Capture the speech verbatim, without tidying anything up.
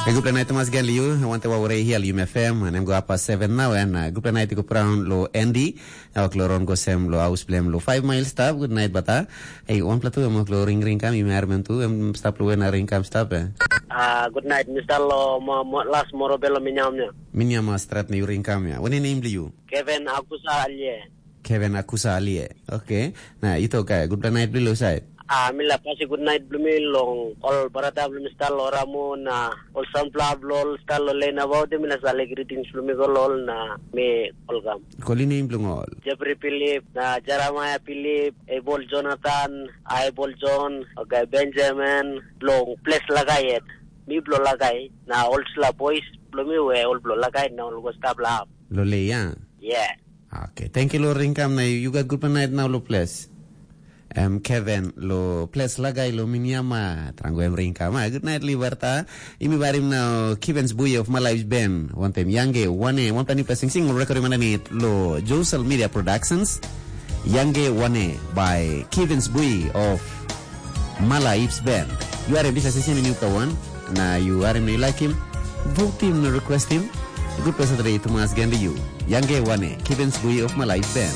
Gupla nait Thomas Gen liu, wante wa ure hia liu mefem, nem go apa seven now, and uh, gupla nait go praun lo Andy, awak lo ron go sem lo aus blem lo five mile stap, good night bata. Hey, one platu em lo ring ring kam, yu mer mem tu, em stap lo wena ring kam stap eh. Ah, good night, Mister Lo, mo, mo, last moro belo minyam ya. Minyam strat ni ring kam ya. Wani name liu? Kevin Akusa Alie. Kevin Akusa Alie. Okay. Na ito ka, good night bilo side. Ah, mi la pasi good night blo mi long ol barata blo mi star lo Ramu na ol sampla blo ol star lo Lena Baude mi la sale greetings blo mi go lo ol na mi olgam. Koli name blo ol. Jeffrey Philip, na Jeremiah Philip, Abel Jonathan, Abel John, okay, Benjamin, long place lagai yet. Mi blo lagai, na ol sla boys blo mi we ol blo lagai na ol go stap la. Lo le ya. Yeah. Okay, thank you lo ringkam na you got good night now lo place. Em Kevin lo ples lagai lo miniama trango em ringkam. Ah, good night Liberta. Imi barim na Kivens Bui of My Life Band. One time Yange Wane, one time person sing record mana ni lo Josel Media Productions. Yange Wane by Kivens Bui of Mala Ips Band. You are a bisa sisi mini uka one. Na you are him, you like him. Vote him, request him. Good person today to mas ganda you. Yange Wane, Kivens Bui of My Life Band.